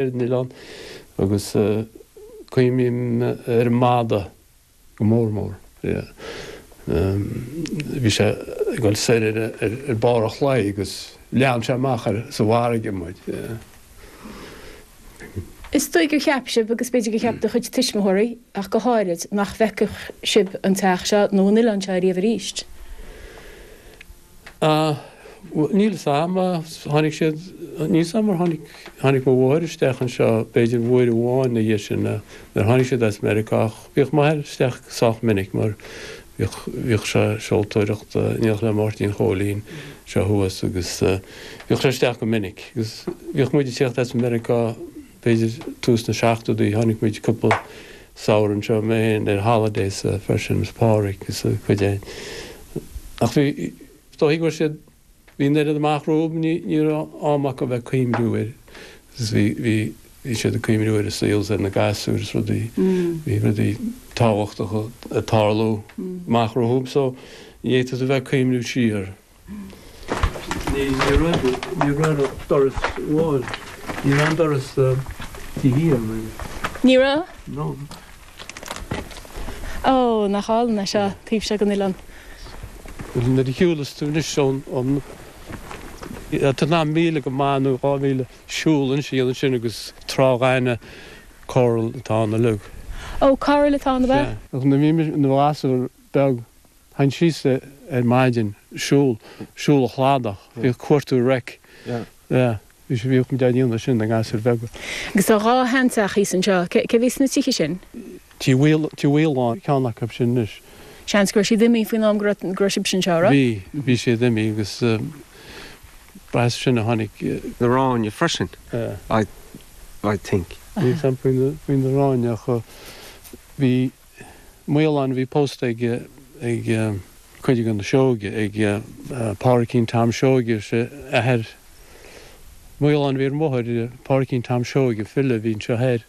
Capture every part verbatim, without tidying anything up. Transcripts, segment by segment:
an oileán agus cuimhním ar an mada go mór mór. Bhí sé ag dul soir ar barr an chlaí agus lean sé amach ar sa bhfarraige muid. Is dóigh gur cheap sibh, agus b'fhéidir gur cheap do chuid tuismitheoirí ach go háirid, nach bhfeicfeadh sibh an teach seo nó an oileán seo ariamh arís. Níl 'fhios a'm, tháinig siad, níl 'fhios a'm ar tháinig, tháinig mo mháthair isteach anseo b'fhéidir uair amháin ina dhiaidh sin nuair a tháinig siad as Meiriceá ach bhíodh m'athair isteach sách minic mar bhíodh, bhíodh sé ag seoltóireacht in éineacht le Máirtín Chóilín seo thuas agus bhíodh sé isteach go minic agus bhíodh muid ag tíocht as Meiriceá b'fhéidir tús na seachtóidí, tháinig muid cúpla samhradh anseo, mé féin ar holidays freisin is Pádraig is a cuid fhéin. Ach bhí, is dóigh go raibh siad, bhí an oiread amach rompu, ní, ní raibh am acu a bheith ag cuimhniú air agus bhí, bhí, bhí siad ag cuimhniú ar a saol is ar na gasúir is rudaí, bhí rudaí tábhachtacha ag tarlú amach rompu so ní fhéadfadh tú a bheith ag cuimhniú siar. Ní raibh, ní raibh ach doras amháin. Ní raibh aon doras taobh thiar ann. Ní raibh? No. Ó, nach álainn é seo, taobh seo den oileán. Nuair a shiúlas tú anois ón, ón, tá tú in ann míle go maith nó dhá mhíle siúl ansin ansin agus trá ghainimh coral atá ann uilig. Ó, coral atá ann, ab ea? Sea. Nuair a bhí mise i mo ghasúr beag, Théinn síos ar maidin, siúl, siúl an chladach, bhíodh cuartú wreck. Yeah. Bhí sé, bhíodh muid á ndéanamh sin na gasúir bheaga. Agus tá dhá sheanteach thíos anseo. Cé, cé bhí sna tithe sin? Tigh Mhaol, Tigh Mhaoláin, ceann acu sin anois. Seans go raibh siad imithe faoin am go raibh, go raibh sibhse anseo, raibh? Bhí, bhí siad imithe agus ba as sin a tháinig. Na Ráinne freisin, I, I think. Níl 's a'm faoi na, faoi na Ráinne ach bhí. Maolán a bhí pósta ag ag cuid de na Seoige, ag Pádraicín Tom Seoige, is é athair Maolán a bhí ar an mbóthar, Pádraicín Tom Seoige, file a bhí anseo thoir,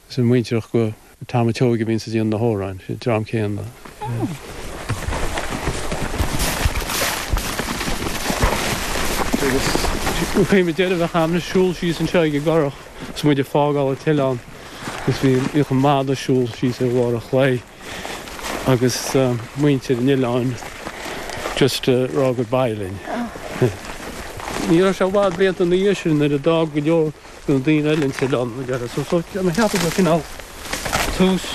is an muintearach go Tom a' tSeoighe a bhíonns ag déanamh na hamhráin, an dream céanna. Agus cuimhním deireadh bheadh am ag siúl síos anseo ag an gcurach is muid ag fágáil an t-oileán. Agus bhí, bhíodh an mada ag siúl síos ar bharr an chlaí agus muintir an oileáin just ag rá goodbye linn. Ní raibh sé i bhfad blianta ina dhiaidh sin nuair a d'fhág go leor de na daoine eile an t-oileán mar dheireadh. So, so mé ag ceapadh gur cineál tús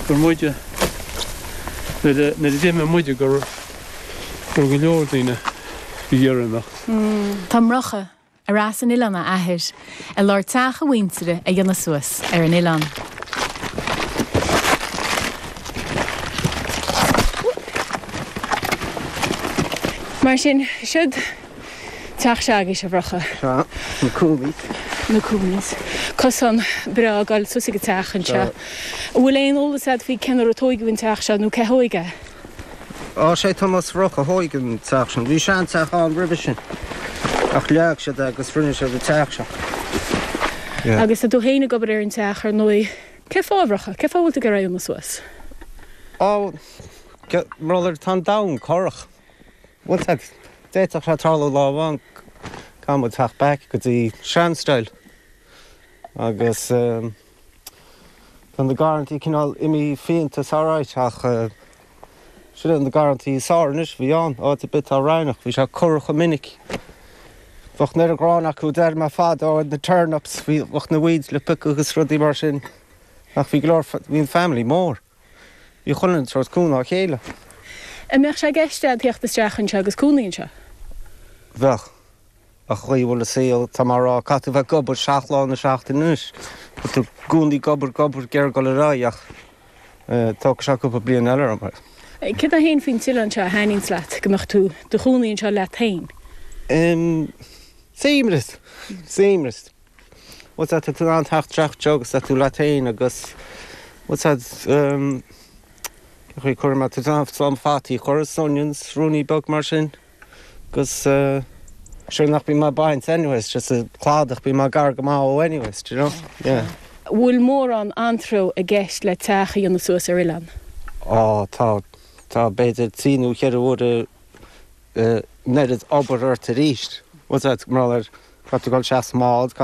gur muide, nuair a, nuair a d'imigh muide gur, gur go leor daoine ag iarraidh imeacht. Tá Murchadh Ar as an oileán a athair, i lár teach a mhuintire a dhéanamh suas ar an oileán. Mar sin, siod teach s'agaibhse, a Mhurchadh. Sea, na Cooneys. Na Cooneys. Cosán breá ag dul suas ag an teach anseo. An bhfuil aon eolas agat faoi cén uair a tóigeadh an teach seo nó cé thóig é? Á, sé Tomás Mhurchadh a thóig an teach sin. Bhí seanteach ann roimhe sin ach leag siad é agus rinne siad an teach seo. Yeah. Agus tá tú féin ag obair ar an teach, ar ndóigh. Cén fáth, a Mhurchadh? Cén fáth a bhfuil tú ag iarraidh é a dhéanamh suas? Á, mar gheall ar tá an domhan corrach. Bhfuil a fhios agat, d'fhéadfadh sé tarlú lá amháin caithfidh muid teacht back go dtí sean-style agus tá na garrantaí cineál imithe fiánta is alright ach Sin iad na garrantaí is fearr anois a bhí ann, áit ar bith atá raithneach, bhí sé corrach go minic. Bheadh an oiread gráin acu, deir mé fadó, ar na turnips, bhí, bheadh na weeds le piocadh agus rudaí mar sin. Ach bhí go leor, bhí an family mór. Bhí chuile dhuine ag tabhairt cúnamh dá chéile. An mbeadh sé i gceist agat theacht isteach anseo agus cónaí anseo? Bheadh. Ach an chaoi a bhfuil an saol, tá mé a rá, caithfidh tú bheith ag obair seacht lá na seachtaine anois. Tá tú i gcónaí ag obair, ag obair, ag iarraidh dul ar aghaidh ach tógfaidh sé cúpla bliain eile orm. Céard é féin faoin t-oileán seo a thaitníonns leat, go mbeadh tú do chónaí anseo leat féin? Suaimhneas! Suaimhneas. Bhfuil a fhios agat, tá tú in ann teacht isteach anseo agus tá tú leat féin agus bhfuil a fhios agat, cén chaoi a cuirfidh mé, tá tú in ann slám fataí a chur is onions, ruainní beag mar sin. Agus sure nach bíonn mé ag baint anyways, just an cladach, bíonn mé gar go maith ó anyways, do you know? Yeah. Bhfuil mórán antró i gceist le teach a dhéanamh suas ar oileán? Á, tá. Tá b'fhéidir trí nó cheithre huaire an oiread obair ort arís. Bhfuil a fhios agat, mar gheall ar, Caithfidh tú dul isteach sa mbád.